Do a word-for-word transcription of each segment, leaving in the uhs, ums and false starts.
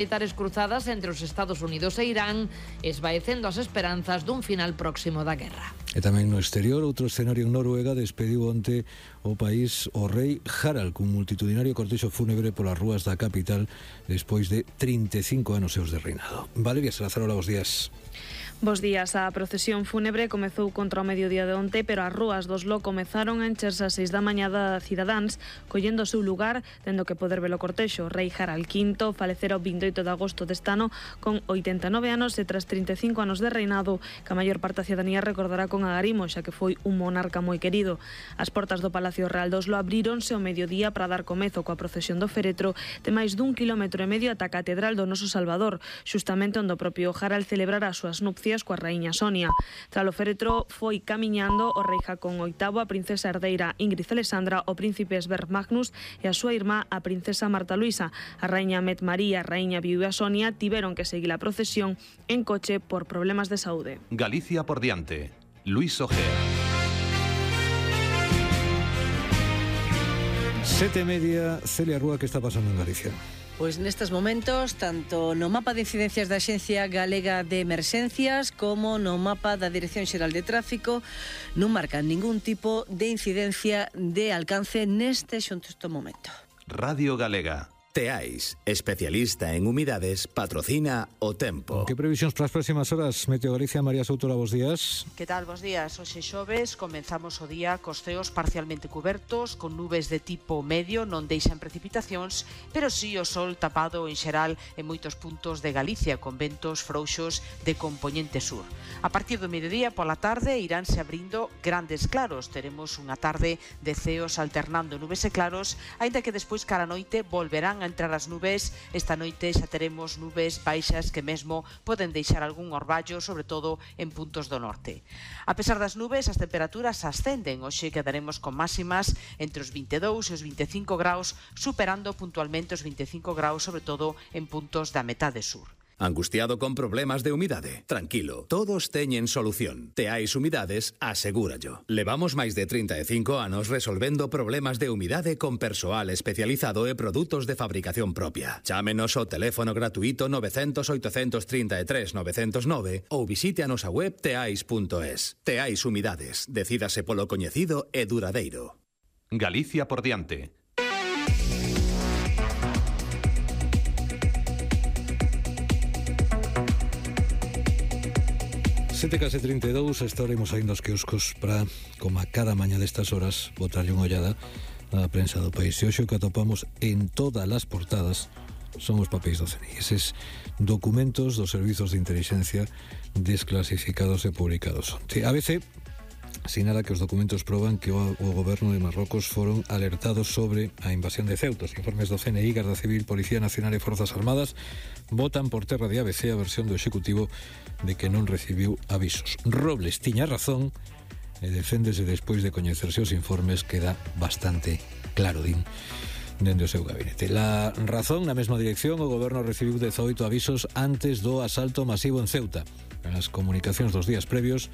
militares cruzadas entre os Estados Unidos e Irán, esvaecendo as esperanzas dun final próximo da guerra. E tamén no exterior, outro escenario en Noruega despediu onte o país o rei Harald cun multitudinario cortexo fúnebre polas rúas da capital despois de trinta e cinco anos seus de reinado. Valeria Salazar, hola, bos días. Bos días. A procesión fúnebre comezou contra o mediodía de onte, pero as rúas do Oslo comezaron a encherse ás seis da mañá da cidadáns, collendo o seu lugar, tendo que poder ver o cortexo. Rei Harald quinto falecera o vindeito de agosto deste ano con oitenta e nove anos e tras trinta e cinco anos de reinado, que a maior parte da cidadanía recordará con agarimo, xa que foi un monarca moi querido. As portas do Palacio Real do Oslo abríronse ao mediodía para dar comezo coa procesión do féretro de máis dun quilómetro e medio ata a Catedral do Noso Salvador, xustamente onde o propio Harald celebrará as súas nupcias coa raíña Sonia. Tras o féretro foi camiñando o rei Jacón oitavo, a princesa herdeira Ingrid Alexandra, o príncipe Sverre Magnus e a súa irmá, a princesa Marta Luisa. A raíña Met María, a raíña viúva Sonia tiveron que seguir a procesión en coche por problemas de saúde. Galicia por diante. Luis Ojea. Sete e media, Celia Rúa, que está pasando en Galicia? Pois nestes momentos, tanto no mapa de incidencias da Axencia Galega de Emerxencias como no mapa da Dirección Xeral de Tráfico non marcan ningún tipo de incidencia de alcance neste xusto momento. Radio Galega. Teais, especialista en humidades, patrocina o tempo. Que previsións para as próximas horas? Meteo Galicia, María Soutora, bos días. Que tal, bos días? Hoxe xoves, comenzamos o día cos ceos parcialmente cubertos, con nubes de tipo medio, non deixan precipitacións, pero sí o sol tapado en xeral en moitos puntos de Galicia, con ventos frouxos de compoñente sur. A partir do mediodía pola tarde iránse abrindo grandes claros. Teremos unha tarde de ceos alternando nubes e claros, aínda que despois cara a noite volverán a entrar as nubes. Esta noite xa teremos nubes baixas que mesmo poden deixar algún orballo, sobre todo en puntos do norte. A pesar das nubes, as temperaturas ascenden. Hoxe quedaremos con máximas entre os vinte e dous e os vinte e cinco graus, superando puntualmente os vinte e cinco graus, sobre todo en puntos da metade sur. Angustiado con problemas de humidade? Tranquilo, todos teñen solución. Teais Humidades, asegúrallo. Levamos máis de trinta e cinco anos resolvendo problemas de humidade con persoal especializado e produtos de fabricación propia. Chámenos ao teléfono gratuito nove cero cero, oito tres tres, nove cero nove ou visite a nosa web teais punto es. Teais Humidades, decídase polo coñecido e duradeiro. Galicia por diante. sete case trinta e dous, estaremos aí nos quioscos para, como a cada mañá destas horas, botarlle unha ollada á prensa do país. E hoxe o que atopamos en todas as portadas son os papéis do C N I. Eses documentos dos servizos de inteligencia desclasificados e publicados onte. A B C sinala que os documentos proban que o, o goberno de Marrocos foron alertados sobre a invasión de Ceuta. Os informes do C N I, Garda Civil, Policía Nacional e Forzas Armadas botan por terra de A B C a versión do Executivo de que non recibiu avisos. Robles tiña razón e deféndese despois de coñecerse os informes, queda bastante claro, din, dende o seu gabinete. La razón, na mesma dirección, o goberno recibiu dezoito avisos antes do asalto masivo en Ceuta. As comunicacións dos días previos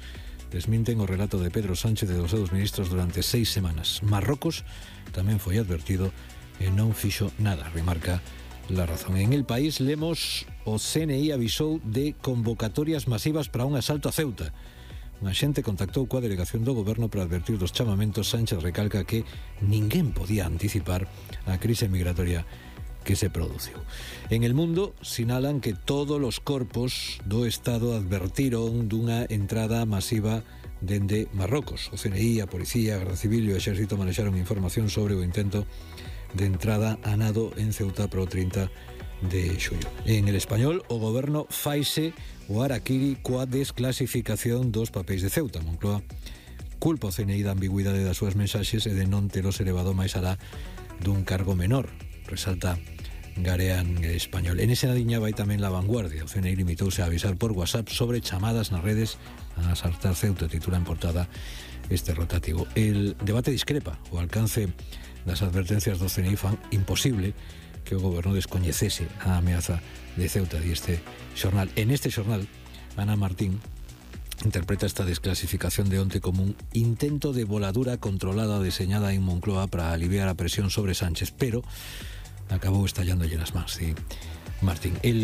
desminten o relato de Pedro Sánchez e dos seus ministros durante seis semanas. Marrocos tamén foi advertido e non fixo nada, remarca La Razón. En El País lemos o C N I avisou de convocatorias masivas para un asalto a Ceuta. Un axente contactou coa delegación do goberno para advertir dos chamamentos. Sánchez recalca que ninguén podía anticipar a crise migratoria que se produciu. En El Mundo sinalan que todos os corpos do Estado advertiron dunha entrada masiva dende Marrocos. O C N I, a Policía, a Garda Civil e o Exército manexaron información sobre o intento de entrada a nado en Ceuta pro trinta de xullo. En El Español, o goberno faise o araquiri coa desclasificación dos papéis de Ceuta. Moncloa culpa o C N I da ambigüidade das súas mensaxes e de non telos elevado máis alá dun cargo menor, resalta Garean Español. En esa liña vai tamén La Vanguardia. O C N I limitouse a avisar por WhatsApp sobre chamadas nas redes a asaltar Ceuta, titula en portada este rotativo. El debate discrepa. O alcance das advertencias do C N I fan imposible que o goberno descoñecese a ameaza de Ceuta, di este xornal. En este xornal, Ana Martín interpreta esta desclasificación de onte como un intento de voladura controlada deseñada en Moncloa para aliviar a presión sobre Sánchez, pero acabou estallándolle nas mans. E Martín. El